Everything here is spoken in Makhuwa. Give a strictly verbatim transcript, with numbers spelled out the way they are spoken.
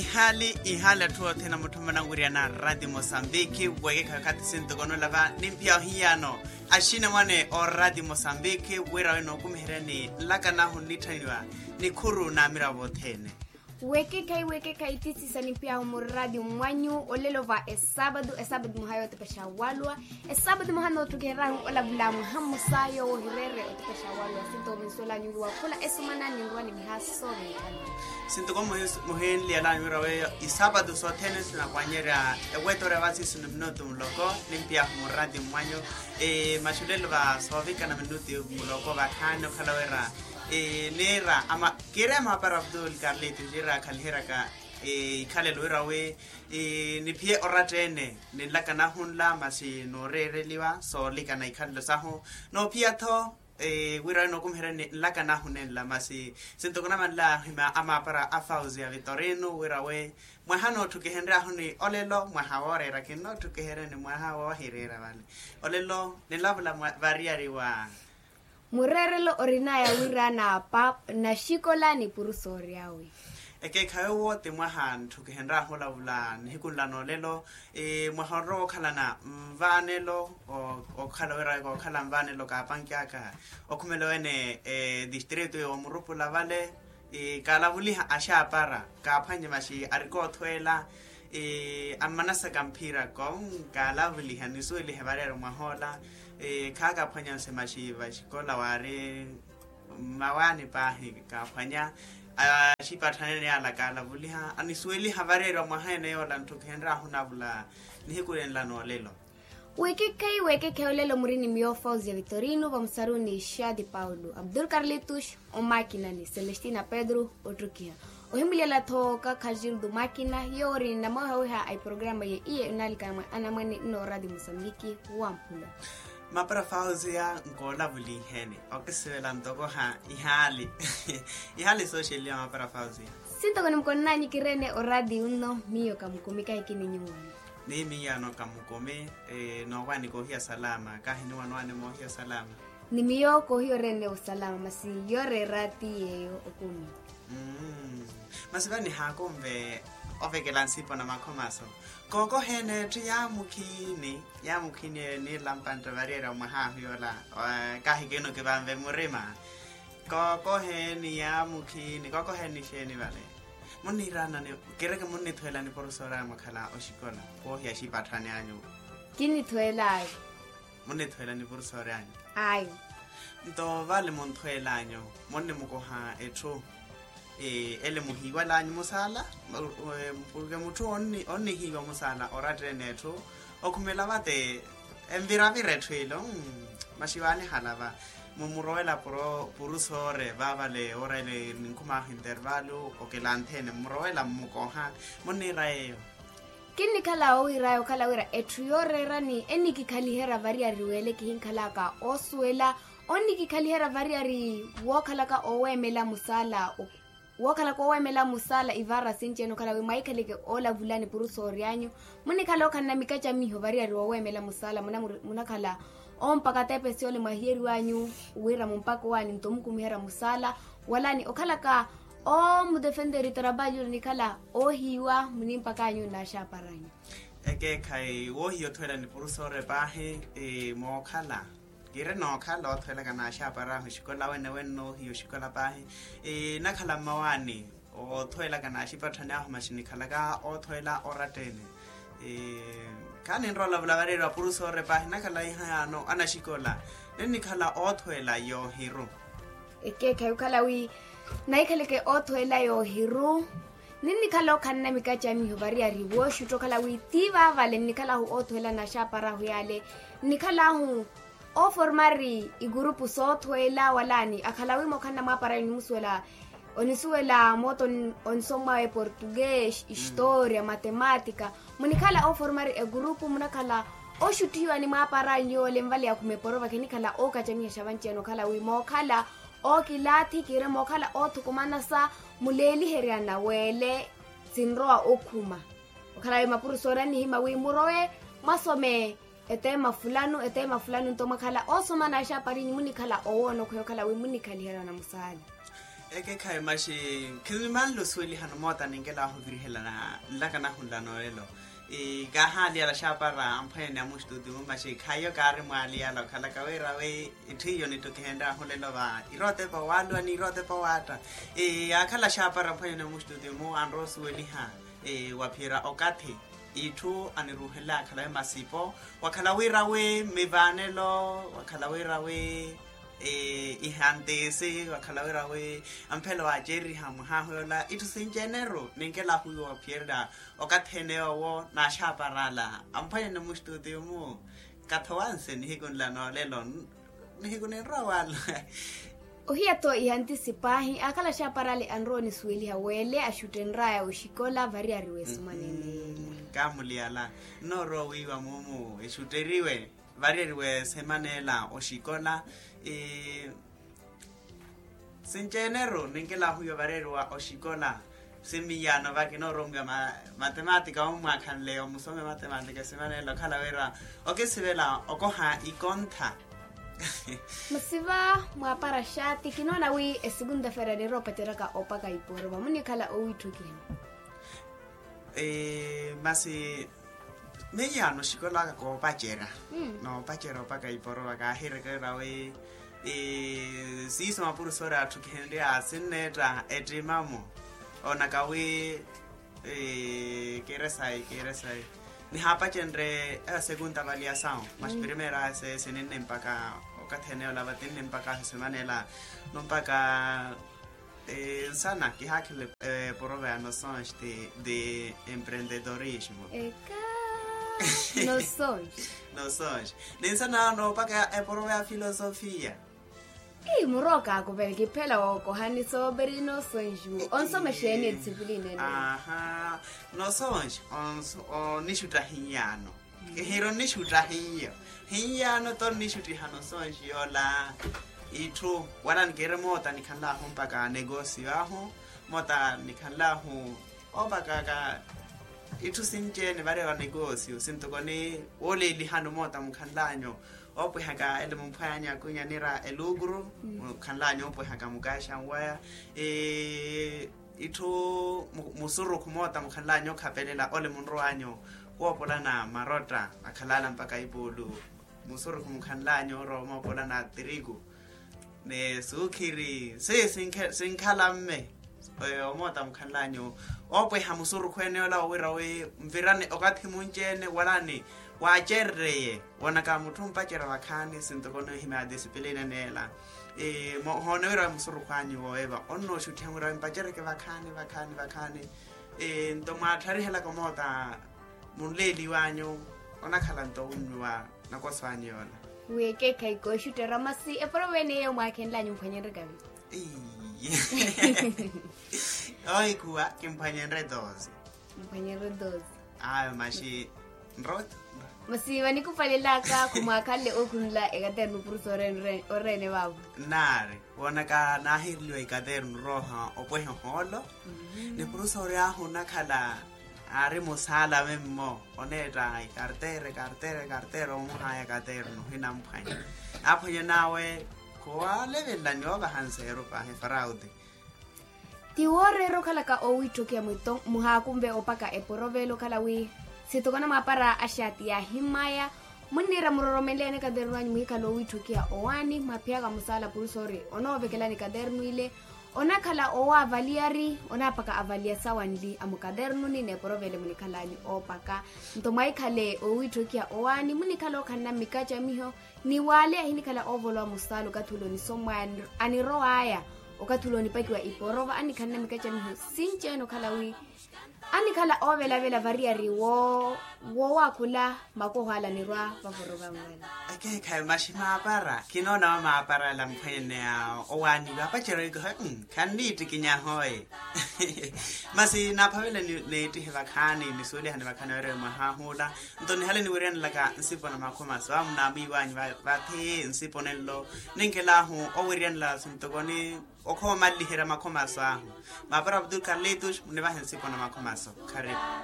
Ihaali ihaali atthu othene amutthu amananwiriyana a rati mosambiki, wekekhawe khathi sintokonola va nimphiya ohiyano axinamwane o rati mosambiki wira wi nookumiheryani nlakanahu nnitthaniwa nikhuru n'amiravo othene. Wekekhayi wekekhayi tisiisa nimphiyahu murati mwanyu olelo va esapatu esapatu muhaya otepexa walwa. Esapatu muhana otthukiheryahu olavula mwaha mmosa yowo ohireere otepexa walwa sinto minsuwelanyu wi wakhula esumana ninrwa ni miha soovenkana. Sinto ko muhinliyela anwira weyo isapatu sothene sinakwannyerya ewetorya vasi sino minutu muloko. Nimphiyahu murati mwanyu maxulelo va soovikana minutu muloko vakhaani okhala wira niira ama kiire maapara abdul karlito jiira akhaliheryaka ikhalelo wira wi niphiye oratta-ene ninlakanahu nla masi nooreereliwa soolikana ikhalelo sahu noophiya-tho wira wi nookumiheryani nlakanahu nenla masi sinto kunamanlaahi amaapara a fauzi ya vitorino wira wi mwaha nootthukihenryaahu ni olelo mwaha wooreera kinnootthukiheryani mwaha woohireera vale olelo ninlavula variyari wa mureerelo orinaya wira na pap naxikola ni purusoori awe. Ekeekhawe owo ti mwaha ntthukihenryahu olavula nihiku nla noolelo mwaha onrowa okhalana nvaanelo okhala wira kookhala nvaanelo kaapankyaka okhumela wene distrito yoomurupula vale kaalavuliha axaapara kaaphwanye maxi arikoothweela ammanasaka mphira ko kaalavuliha nisuwelihe variyari mwahoola khaakaphwanya nse maxi vaxikola waari mmawaani paahi kaaphwanya axipatthanene yaala kaalavuliha anisuweliha variyari wa mwaha ene yoola ntthu kihenryahu navula nihiku nenla noolelo. Wekekhayi wekekhayi olelo muri ni miyo fauzi ya vitorino vamusaruni xaati paulo abdul karlitus omakinani celestina pedro ottrukiha ohimulyela-tho kakha gildo makina yoori ni namowehaweha a iprograma ye iye onaalikana mwa anamwane nnoorati musambiki wamphula. Mapara fauzi ya nkoolavuliheni okisivela ntokoha ihaali ihaali sooxeliwa mapara fauzi ya. Sintoko nimukonnanyu kirene orati unno miyo kamukumi kahi kininyuwani. Ni miyo ano kamukumi noowani koohiya salama kahi niwanowani moohiya salama. Ni miyo koohiya orene osalama masi yoreera ti yeeyo okumi. Masi vani haakunve ovekela nsipo na makhomaso kookoheene etthu yaamukhini yaamukhini niilampantta variyari omwaha ahu yoola kahi kinukivanve murima. Kookoheeni yaamukhini kookoheeni xeeni vale munniiraanani kireke munnithweelani purusoori anyu mwakhala oxikola woohiya axipatthani anyu. Kinnithweelaayo. Munnithweelani purusoori anyu. Ayo. Nto vale munthweelanyu munnimukoha etthu ele muhiiwalanyu musaala porke mutthu onnihiiwa musaala oratta-ene etthu okhumela vate enviravira etthu ilo. Maxi waanihala va mumurowela purusoore vaavale ora ele ninkhumaahu intervalu okelantheene mmurowela mmukoha munniira yeeyo. Kinnikhala owiiraya okhala wira etthu yooreerani ennikikhaliherya variyari weele kihinkhalaka oosuwela onnikikhaliherya variyari wookhalaka oweemela musaala. Wookhalaka oweemela musaala ivaara sinci-ene okhala wi mwaikhaleke oolavulani purusoori anyu munnikhala okhanna mikacamiho variyari woweemela musaala munakhala ompaka tepesi ole mwahiyeriwanyu wira mumpaka owaani nto mukumiherya musaala walaani okhalaka omudefenteri tarabalyulo nikhala oohiiwa munimpaka anyu n'axaaparanyu. Ekeekhayi woohiya othweela ni purusoore paahi mookhala kiire nookhala othweelaka n'axaapar'ahu oxikola wene wene noohiya oxikola paahi nakhala mmawaani othweelaka n'axipatthani ahu maxi nikhalaka oothweela oratta-ene. Khaninrola vulavareri wa purusoore paahi nakhala ihayaano anaxikola ninnikhala oothweela yoohiru. Ekeekhayi okhala wi naikhaleke oothweela yoohiru ninnikhala okhanna mikacamiho variyari wooxutta okhala wi ti vaavale nnikhalahu oothweela n'axaapar'ahu yaale nnikhalahu ooformari igurupu soothweela walaani akhala wi mookhanna mwaapara nimusuwela onisuwela moota onisomwawe portugues historia matematika munikhala ooformari egurupu munakhala ooxuttihiwa ni mwaapara nyuwo lenvale ya khumeporo vakhe nikhala ookacamiha xavanci-ene okhala wi mookhala ookilaathi kiire mookhala oothukumana sa muleeliheryana weele sinrowa okhuma okhala wi mapurusoori annihima wi murowe mwasome eteema fulanu eteema fulanu nto mwakhala oosoma n'axaaparinyu munikhala owoona okhweya okhala wi munikhaliherya na musaala. Ekekhayi maxi, khinimanle osuwelihana omoota ninkelahu ovirihelana nlaka nahunla noolelo. Kaahaaliyala xaapara amphwanyani amuxtuutimu maxi khaiyo kaarimwaaliyala okhalaka wira wi itthu iyo nittukihenryahu lelo va irotepa waluwa ni irotepa waatta. Yaakhala xaapara amphwanyani amuxtuutimu anrowa osuweliha waphiyerya okathi itthu aniruuhenle akhala wi masipo, wakhala wira wi mivaanelo, wakhala wira wi ihantisi, wakhala wira wi amphelo waacereriha mwahahu yoola itthu sinci-ene-ru ninkelahu wiwo waphiyerya okathi ene yoowo naaxaaparala amphwanyani muxtuutimu. Kathowanse nihiku nla noolelo nihiku ninrowa wala. Ohiya-tho ihantisi paahi aakhala axaaparale anrowa onisuweliha wele axuttenryaya oxikola variyari wesumanene. Kaamuliyala nnoorowa wiiwa muumu exutteriwe variyari wesemanela oxikola. Sinci-ene-ru ninkelahu wiiwa variyari wa oxikola. Simiyano vaki nooromiwa matematika omwaakhanle omusome matematika simanela okhala wira okisivela okoha ikontha. Masi va mwaapara xaati kinoona wi esukunta feera nirowa opaceraka opaka iporova munikhala owiitthukiha. Masi miyaano oxikolaka koopacerya noopacerya opaka iporova kaahireke ira wi siiso mapurusori atthukihenrye asinneetta ettimamo. Onaka wi kiire sayi kiire sayi nihaapacenrye esekunta valiya sawu masi primeira ese sininne mpaka okathi ene ola vatinne mpaka aho simanela no mpaka nsana kihaakhela eporova ya nosonge de emprendedorismo. Eka nosonge. Nosonge ninsana noopaka eporova ya filosofia. Ii murowa okaakuvela kiphela wookoha nisooperi nosonge onsoma exeeni edisipilini ene. Aha nosonge onixutta hiyaano. Kihiri onixutta hiyo hiyaano-tho onixuttiha nosonge yoola itthu wala nikiiri moota nikhanlahu mpaka negosio ahu moota nikhanlahu opakaka itthu sinci-ene varewa negosio sintoko ni wooleelihano moota mukhanlanyu oopwehaka ele mumphwanya kunya nira elukuru mukhanlanyu oopwehaka mukaaxa nwaya itthu musurukhu moota mukhanlanyu okhapelela ole munrowanyu woopolana marotta akhalala mpaka ipuulu musurukhu mukhanlanyu orowa omoopolana tiriku ni suukhiri si sinkhala mme omoota mukhanlanyu oopweha musurukhu ene ola owira wi nvirane okathi munci-ene walani waacerereye woonaka mutthu ompacerya vakhaani sintoko noohimya disipilini ene ela. Hoona wira musurukhu anyu wooyeva onnooxuttiha wira mpacereke vakhaani vakhaani vakhaani nto mwaattarihelaka omoota munleeliwanyu onakhala nto owunnyuwa nakoso anyu yoola. Wi ekeekhayi kooxuttera masi eporova ene iyo mwaakhenlanyu mphwanyenrye kavi. Oikhuwa kimphwanyenrye doze. Mphwanyenrye doze. Ayo maxi nroto. Masi vanikupalelaka khumwaakhanle ookhunla ekaternu purusa oreene vaavo. Naari woonaka naahiireliwa ikaternu rooha opweha ohoolo ni purusa ori ahu onakhala aari musaala memmo oneetta ikarteera ikarteera ikarteera omuhaya katernu hinamphwanya. Aphwanya nawe khuwalevelelani oovaha nseeru paahi farauti. Ti wooreera okhalaka owiitthokiya mwito muhaakunve opaka eporovelo okhala wi sitokona mwaapara axaati yaahimaya munniira muroromenle ene katernu anyu muhikhala owiitthokiya owaani mwaphiyaka musaala purusa ori onoovekelani katernu ile. Onakhala owo avaliyari onaapaka avaliya sawanli a mukaternuni n'eporovele munikhalanyu oopaka. Nto mwahikhale owiitthokiha owaani munikhala okhanna mmikacamiho ni wale ahinikhala oovolowa musaala okathi ule onisomwaya anirowaya okathi ule onipakiwa iporova anikhanna mmikacamiho sinci-ene okhala wi anikhala oovelavela variyari woowakhula makoho ala anirwa vavoroka nwela. Ekeekhayi maxi maapara kinoona wa maapara ala mphwene a owaani vaapacerya oikiha khanniittikinyaha oye. Masi naaphavela niittihe vakhaani nisuwelihani vakhaani werewe mwahaahula nto nihale niwiryanelaka nsipo na makhomaso amu naamwiiwanyu vathi nsipo nenlo ninkelahu owiryanela sintokoni okhoomalliherya makhomaso ahu. Maapara abdul carlitos munivahe nsipo na makhomaso kharipu.